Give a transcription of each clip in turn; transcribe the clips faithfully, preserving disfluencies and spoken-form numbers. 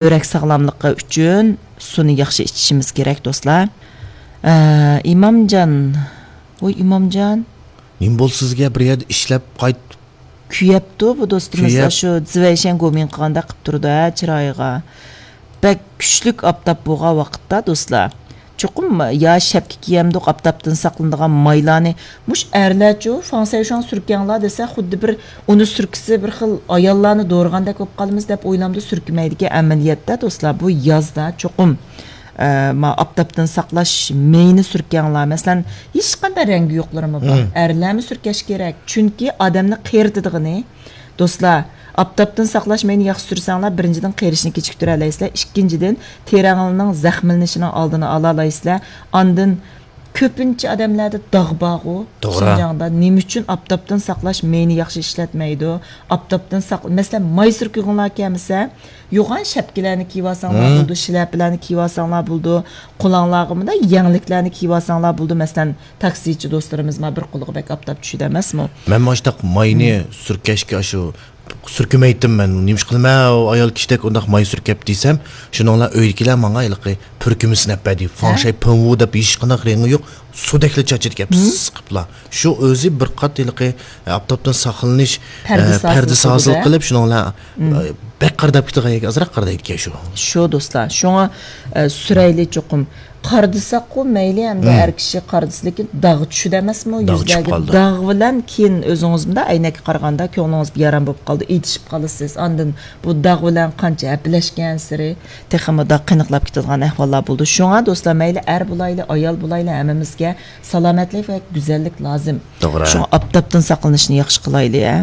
يۈرەك ساغلاملىقى ئۈچۈن سۇنى ياخشى ئىچىشىمىز كېرەك، دوستلار. ئە، ئىمامجان، ۋوي، ئىمامجان. نېمە بولدى سىزگە؟ بىر يەردە ئىشلەپ قايت. كۆيەپتۇ بۇ دوستىمىز، كۆيەپ. شۇ زىۋەيشەن گومىڭ قىلغاندەك قىپ تۇرىدۇ، ھە، چىرايىغا. بەك كۈچلۈك ئاپتاپ بولغان ۋاقىتتا، دوستلار، چوقۇم يا شەپكە كىيەمدۇق، ئاپتاپتىن ساقلىنىدىغان مايلارنى. مۇش ئەرلەرچۇ، فاڭسەيشۇاڭ سۈركەڭلار دېسە، خۇددى بىر ئۇنى سۈركىسە، بىر خىل ئاياللارنى دورىغاندەك بولۇپ قالىمىز دەپ ئويلامدۇ، سۈركىمەيدىكەن. ئەمەلىيەتتە، دوستلار، بۇ يازدا چوقۇم، ئە، ما ئاپتاپتىن ساقلاش مېيىنى سۈركەڭلار. مەسىلەن، ھېچقانداق رەڭگى يوقلىرىمۇ بار. مم. ئەرلەرمۇ سۈركەش كېرەك. چۈنكى ئادەمنى قېرىتىدىغىنى، دوستلار، ئاپتاپتىن ساقلاش مېيىنى ياخشى سۈرسەڭلار، بىرىنچىدىن، قېرىشنى كېچىكتۈرەلەيسىلەر، ئىككىنچىدىن، تېرەڭلارنىڭ زەخىملىنىشىنىڭ ئالدىنى ئالالايسىلەر. ئاندىن كۆپىنچە ئادەملەردە داغ بارغۇ، توغرا. شىنجاڭدا. نېمە ئۈچۈن ئاپتاپتىن ساقلاش مېيىنى ياخشى ئىشلەتمەيدۇ؟ ئاپتاپتىن ساق-، مەسىلەن، ماي سۈركىگۈڭلار كەلمىسە، يوغان شەپكىلەرنى كىيىۋالساڭلار مم. بولىدۇ، شىلەپىلەرنى كىيىۋالساڭلار بولىدۇ، قولۇڭلارغا مۇنداق يەڭلىكلەرنى كىيىۋالساڭلار بولىدۇ. مەسىلەن، تاكسىچى دوستلىرىمىز ما بىر قولىغا بەك ئاپتاپ چۈشىدۇ ئەمەسمۇ؟ مەن مانا شۇنداق ماينى مم. سۈركەشكە ئاشۇ سۈركىمەيتتىم مەن. نېمىش قىلىمەن، ئايال كىشىدەك ئۇنداق ماي سۈركەپ دېسەم، شۇنىڭلا ئۆيدىكىلەر ماڭا ھېلىقى پۈركۈمىسىنى ئەپ بەردى. ھە؟ فاڭشەي پېڭۋۇ دەپ ھېچقانداق رېڭى يوق، سۇدەكلا چاچىدىكەن، مم. پىس قىپلا. شۇ ئۆزى بىر قات ھېلىقى ئاپتاپتىن ساقلىنىش، پەردىسى ئە، ھاسىل پەردىسى ھاسىل قىلىدۇ-دە. قىلىپ، شۇنىڭلا، مم. ئە، بەك قارىداپ كېتىدىغان يەرگە ئازراق قارىدايدىكەن شۇ. شۇ دوستلار. شۇڭا، ئە، سۈرەيلى چوقۇم. قارىدىساققۇ مەيلى، ئەمدى مم. ئەر كىشى قارىدىسا، لېكىن داغ چۈشىدۇ ئەمەسمۇ داغ چۈشۈپ يۈزلەرگە؟ قالىدۇ. داغ بىلەن كېيىن ئۆزىڭىز مۇنداق ئەينەككە قارىغاندا كۆڭلىڭىز بىئارام بولۇپ قالىدۇ، ئېتىشىپ قالىسىز. ئاندىن بۇ داغ بىلەن قانچە ھەپىلەشكەنسېرى تېخىمۇ داغ قېنىقلاپ كېتىدىغان ئەھۋاللار بولىدۇ. شۇڭا دوستلار، مەيلى ئەر بولايلى، ئايال بولايلى، ھەممىمىزگە سالامەتلىك ۋە گۈزەللىك لازىم. توغرا. شۇڭا ئاپتاپتىن ساقلىنىشنى ياخشى قىلايلى، ھە.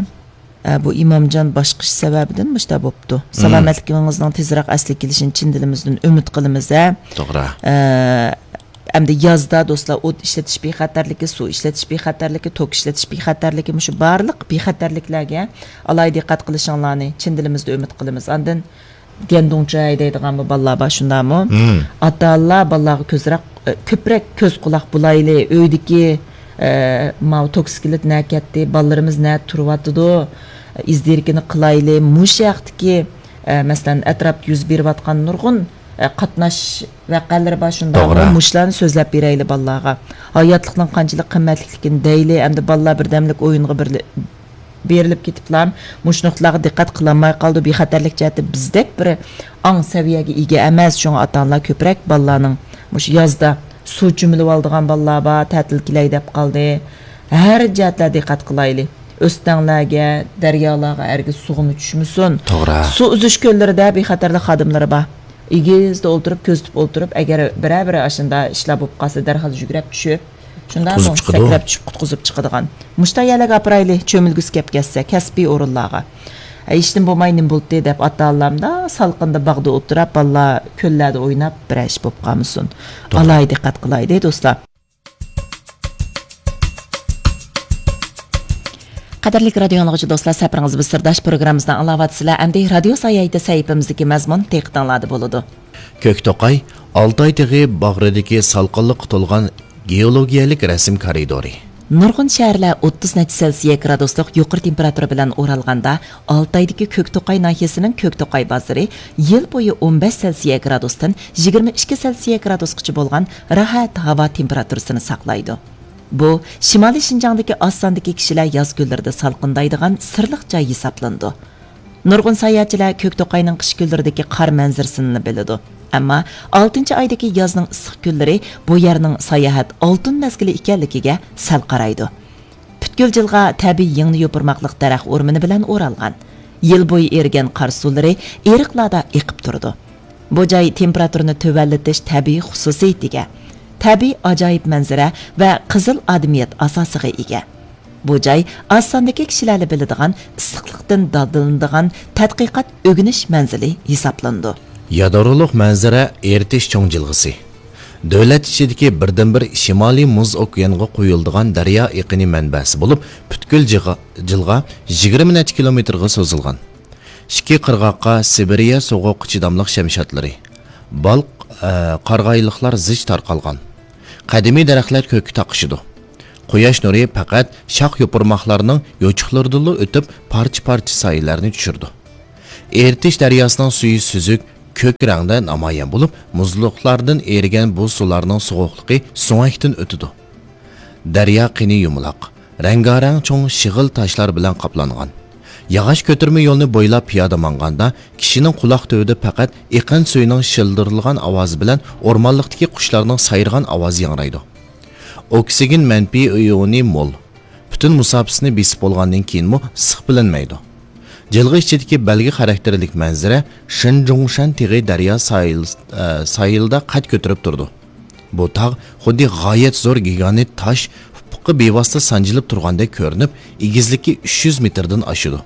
ئە، بۇ ئىمامجان باشقا ئىش سەۋەبىدىن مۇشۇنداق بوپتۇ. مم. سالامەتلىكىڭىزنىڭ تېزرەك ئەسلىگە كېلىشىنى چىن دىلىمىزدىن ئۈمىد قىلىمىز، ھە. توغرا. ئە، ئەمدى يازدا دوستلار، ئوت ئىشلىتىش بىخەتەرلىكى، سۇ ئىشلىتىش بىخەتەرلىكى، توك ئىشلىتىش بىخەتەرلىكى، مۇشۇ بارلىق بىخەتەرلىكلەرگە ئالاھىدە دىققەت قىلىشىڭلارنى چىن دىلىمىزدىن ئۈمىد قىلىمىز. ئاندىن گەندۇڭچاي دەيدىغانمۇ بالىلار بار، شۇنداقمۇ؟ مم. ئاتا-ئانىلار بالىلارغا كۆزرەك، ئە، كۆپرەك كۆز قۇلاق بولايلى. ئۆيدىكى، ئە، ماۋۇ توكسىكلىت نەگە كەتتى، بالىلىرىمىز نەدە تۇرۇۋاتىدۇ، ئىز دېرىكىنى قىلايلى. مۇشۇ ھەقتىكى، ئە، مەسىلەن، ئەتراپتا يۈز بېرىۋاتقان نۇرغۇن، ئە، قاتناش ۋەقەلىرى بار، شۇنداقمۇ؟ توغرا. مۇشۇلارنى سۆزلەپ بېرەيلى بالىلارغا. ھاياتلىقنىڭ قانچىلىك قىممەتلىكلىكىنى دەيلى، ئەمدى بالىلار بىردەملىك ئويۇنغا بىرلە-، بېرىلىپ كېتىپلا، مۇشۇ نۇقتىلارغا دىققەت قىلالماي قالىدۇ. بىخەتەرلىك جەھەتتە بىزدەك بىر ئاڭ سەۋىيەگە ئىگە ئەمەس. شۇڭا ئاتا-ئانىلار كۆپرەك بالىلارنىڭ مۇشۇ يازدا سۇ چۆمۈلۈۋالىدىغان بالىلار بار، تەتىل كېلەي دەپ قالدى. ھەر جەھەتلەردە دىققەت قىلايلى. ئۆستەڭلەرگە، دەريالارغا ھەرگىز سۇغىمۇ چۈشمىسۇن. توغرا. سۇ ئۈزۈش كۆللىرىدە بىخەتەرلىك خادىملىرى بار. ئېگىزدە ئولتۇرۇپ، كۆزىتىپ ئولتۇرۇپ، ئەگەر بىرەر-بىرەر ئاشۇنداق ئىشلار بولۇپ قالسا، دەرھال يۈگرەپ چۈشۈپ، شۇنداقمۇ؟ قۇتقۇزۇپ چىقىدۇ. سەكرەپ چۈشۈپ قۇتقۇزۇپ چىقىدىغان. مۇشۇنداق يەرلەرگە ئاپىرايلى، چۆمۈلگۈسى كەپ كەتسە، كەسپىي ئورۇنلارغا. ھە، ھېچنېمە بولماي نېمە بولدى دەپ، ئاتا-ئانىلارمۇ سالقىندا باغدا ئولتۇراپ، بالىلار كۆللەردە ئويناپ، بىرەر ئىش بولۇپ قالمىسۇن. توغرا. ئالاھىدە دىققەت قىلايلى، دوستلار. قەدىرلىك رادىيو ئاڭلىغۇچى دوستلار، سەپىرىڭىز بىز سىرداش پروگراممىسىنى ئاڭلاۋاتىسىلەر. ئەمدى رادىيو ساياھىتى سەھىپىمىزدىكى مەزمۇن دىققىتىڭلاردا بولىدۇ. كۆكتوقاي، ئالتاي تېغى باغرىدىكى سالقىنلىققا تولغان گېئولوگىيەلىك رەسىم كارىدورى. نۇرغۇن شەھەرلەر ئوتتۇز نەچچە سېلسىيە گرادۇسلۇق يۇقىرى تېمپېراتۇرا بىلەن ئورالغاندا، ئالتايدىكى كۆكتوقاي ناھىيەسىنىڭ كۆكتوقاي بازىرى يىل بويى ئون بەش سېلسىيە گرادۇستىن يىگىرمە ئىككى سېلسىيە گرادۇسقىچە بولغان راھەت ھاۋا تېمپېراتۇرىسىنى ساقلايدۇ. بۇ شىمالىي شىنجاڭدىكى ئاز ساندىكى كىشىلەر ياز كۈنلىرىدە سالقىندايدىغان سىرلىق جاي ھېسابلىنىدۇ. نۇرغۇن ساياھەتچىلەر كۆكتوقاينىڭ قىش كۈنلىرىدىكى قار مەنزىرىسىنىلا بىلىدۇ. ئەمما ئالتىنچى ئايدىكى يازنىڭ ئىسسىق كۈنلىرى بۇ يەرنىڭ ساياھەت ئالتۇن مەزگىلى ئىكەنلىكىگە سەل قارايدۇ. پۈتكۈل جىلغا تەبىئىي يىڭنە يوپۇرماقلىق دەرەخ ئورمىنى بىلەن ئورالغان. يىل بويى ئېرىگەن قار سۇلىرى ئېرىقلاردا ئېقىپ تۇرىدۇ. بۇ جاي تېمپېراتۇرىنى تۆۋەنلىتىش تەبىئىي خۇسۇسىيىتىگە، تەبىئىي ئاجايىپ مەنزىرە ۋە قىزىل ئادىمىيەت ئاساسىغا ئىگە. بۇ جاي ئاز ساندىكى كىشىلەرلا بىلىدىغان، ئىسسىقلىقتىن دادىلىنىدىغان تەتقىقات ئۆگىنىش مەنزىلى ھېسابلىنىدۇ. يادرولۇق مەنزىرە ئېرتىش چوڭ جىلغىسى. دۆلەت ئىچىدىكى بىردىنبىر شىمالىي مۇز ئوكيانغا قۇيۇلىدىغان دەريا ئېقىنى مەنبەسى بولۇپ، پۈتكۈل جىغا-، جىلغا يىگىرمە نەچچە كىلومېتىرغا سوزۇلغان. ئىككى قىرغاققا سىبىرىيە سوغۇققا چىداملىق شەمشادلىرى، بال، ئە، قارىغايلىقلار زىچ تارقالغان. قەدىمىي دەرەخلەر كۆككە تاقىشىدۇ. قۇياش نۇرى پەقەت شاخ يوپۇرماقلارنىڭ يوچۇقلىرىدىنلا ئۆتۈپ، پارچە-پارچە سايىلەرنى چۈشۈرىدۇ. ئېرتىش دەرياسىنىڭ سۈيى سۈزۈك، كۆك رەڭدە نامايان بولۇپ، مۇزلۇقلاردىن ئېرىگەن بۇ سۇلارنىڭ سوغۇقلۇقى سۆڭەكتىن ئۆتىدۇ. دەريا قېنى يۇمىلاق، رەڭگارەڭ چوڭ شېغىل تاشلار بىلەن قاپلانغان. ياغاچ كۆتۈرمە يولنى بويلاپ پىيادە ماڭغاندا، كىشىنىڭ قۇلاق تۈۋىدە پەقەت ئېقىن سۈيىنىڭ شىلدىرلىغان ئاۋازى بىلەن ئورمانلىقتىكى قۇشلارنىڭ سايرىغان ئاۋازى ياڭرايدۇ. ئوكسىگېن مەنپىي ئىيونى مول. پۈتۈن مۇساپىسىنى بېسىپ بولغاندىن كېيىنمۇ ئىسسىق بىلىنمەيدۇ. جىلغا ئىچىدىكى بەلگە خاراكتېرلىك مەنزىرە شېنجۇڭشەن تېغى دەريا ساھىل-، ئە، ساھىلىدا قەد كۆتۈرۈپ تۇرىدۇ. بۇ تاغ خۇددى غايەت زور گىگانت تاش ئۇپۇققا بىۋاسىتە سانجىلىپ تۇرغاندەك كۆرۈنۈپ، ئېگىزلىكى ئۈچ يۈز مېتىردىن ئاشىدۇ.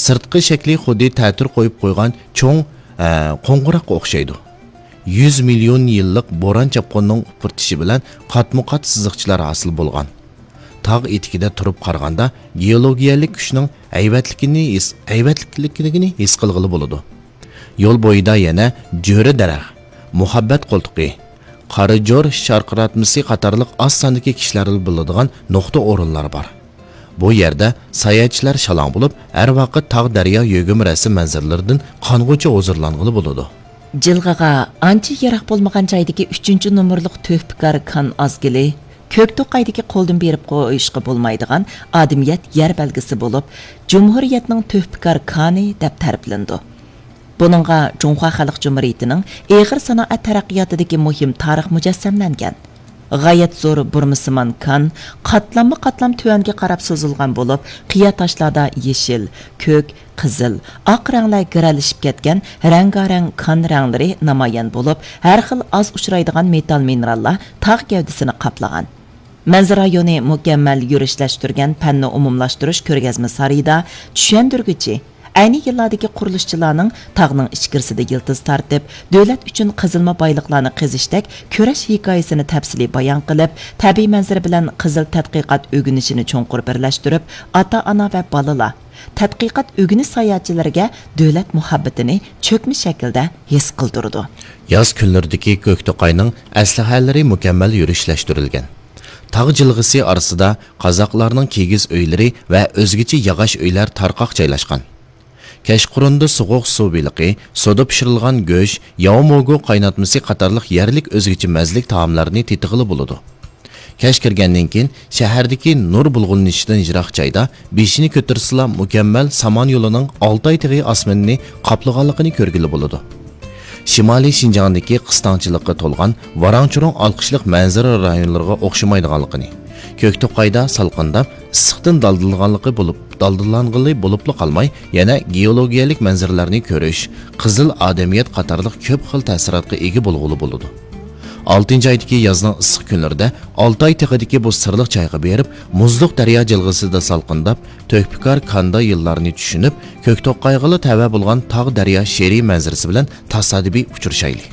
سىرتقى شەكلى خۇددى تەتۈر قويۇپ قويغان چوڭ، ئە، قوڭغۇراققا ئوخشايدۇ. يۈز مىليون يىللىق بوران-چاپقۇننىڭ ئۇپرىتىشى بىلەن قاتمۇقات سىزىقچىلار ھاسىل بولغان. تاغ ئېتىكىدە تۇرۇپ قارىغاندا، گېئولوگىيەلىك كۈچنىڭ ھەيۋەتلىكىنى ھېس، ھەيۋەتلىكلىكىنى ھېس قىلغىلى بولىدۇ. يول بويىدا يەنە جۆرە دەرەخ، مۇھەببەت قولتۇقى، قارا جور شارقىراتمىسى قاتارلىق ئاز ساندىكى كىشىلەر بولىدىغان نۇقتا ئورۇنلار بار. بۇ يەردە ساياھەتچىلەر شالاڭ بولۇپ، ھەر ۋاقىت تاغ، دەريا، يۆگىمە رەسىم مەنزىرىلىرىدىن قانغۇچە ھۇزۇرلانغىلى بولىدۇ. جىلغىغا ئانچە يىراق بولمىغان جايدىكى ئۈچىنچى نومۇرلۇق تۆھپىكار كان ئازگىلى، كۆكتوقايدىكى قولدىن بېرىپ قويۇشقا بولمايدىغان ئادىمىيەت يەر بەلگىسى بولۇپ، جۇمھۇرىيەتنىڭ تۆھپىكار كانى دەپ تەرىپلىنىدۇ. بۇنىڭغا جۇڭخۇا خەلق جۇمھۇرىيىتىنىڭ ئېغىر سانائەت تەرەققىياتىدىكى مۇھىم تارىخ مۇجەسسەملەنگەن. غايەت زور بۇرمىسىمان كان قاتلاممۇ قاتلام تۆۋەنگە قاراپ سوزۇلغان بولۇپ، قىيا تاشلاردا يېشىل، كۆك، قىزىل، ئاق رەڭلەر گىرەلىشىپ كەتكەن رەڭگارەڭ كان رەڭلىرى نامايان بولۇپ، ھەر خىل ئاز ئۇچرايدىغان مېتال مىنېراللار تاغ گەۋدىسىنى قاپلىغان. مەنزىرە رايونى مۇكەممەل يۈرۈشلەشتۈرگەن پەننى ئومۇملاشتۇرۇش كۆرگەزمە سارىيىدا چۈشەندۈرگۈچى، ئەينى يىللاردىكى قۇرۇلۇشچىلارنىڭ تاغنىڭ ئىچكىرىسىدە يىلتىز تارتىپ، دۆلەت ئۈچۈن قېزىلما بايلىقلارنى قېزىشتەك كۈرەش ھېكايىسىنى تەپسىلىي بايان قىلىپ، تەبىئىي مەنزىرە بىلەن قىزىل تەتقىقات ئۆگىنىشىنى چوڭقۇر بىرلەشتۈرۈپ، ئاتا-ئانا ۋە بالىلار، تەتقىقات ئۆگىنىش ساياھەتچىلىرىگە دۆلەت مۇھەببىتىنى چۆكمە شەكىلدە ھېس قىلدۇرىدۇ. ياز كۈنلىرىدىكى كۆكتوقاينىڭ ئەسلىھەلىرى مۇكەممەل يۈرۈشلەشتۈرۈلگەن. تاغ جىلغىسى ئارىسىدا قازاقلارنىڭ كىگىز ئۆيلىرى ۋە ئۆزگىچە ياغاچ ئۆيلەر تارقاق جايلاشقان. كەچقۇرۇندا سوغۇق سۇ بېلىقى، سۇدا پىشۇرۇلغان گۆش، ياۋموگۇ قايناتمىسى قاتارلىق يەرلىك ئۆزگىچە مەززىلىك تائاملارنى تېتىغىلى بولىدۇ. كەچ كىرگەندىن كېيىن، شەھەردىكى نۇر بۇلغىنىشىدىن يىراق جايدا بېشىنى كۆتۈرسىلا، مۇكەممەل سامان يولىنىڭ ئالتاي تېغى ئاسمىنىنى قاپلىغانلىقىنى كۆرگىلى بولىدۇ. شىمالىي شىنجاڭدىكى قىستاڭچىلىققا تولغان ۋاراڭ-چۇرۇڭ ئالقىشلىق مەنزىرە رايونلىرىغا ئوخشىمايدىغانلىقىنى، كۆكتوقايدا سالقىنداپ، ئىسسىقتىن دالدىلانغانلىقى بولۇپ، دالدىلانغىلى بولۇپلا قالماي، يەنە گېئولوگىيەلىك مەنزىرىلەرنى كۆرۈش، قىزىل ئادەمىيەت قاتارلىق كۆپ خىل تەسىراتقا ئىگە بولغىلى بولىدۇ. ئالتىنچى ئايدىكى يازنىڭ ئىسسىق كۈنلىرىدە ئالتاي تېغىدىكى بۇ سىرلىق جايغا بېرىپ، مۇزلۇق دەريا جىلغىسىدا سالقىنداپ، تۆھپىكار كاندا يىللارنى چۈشىنىپ، كۆكتوقايغىلا تەۋە بولغان تاغ، دەريا شېئىرىي مەنزىرىسى بىلەن تاسادىپىي ئۇچرىشايلى.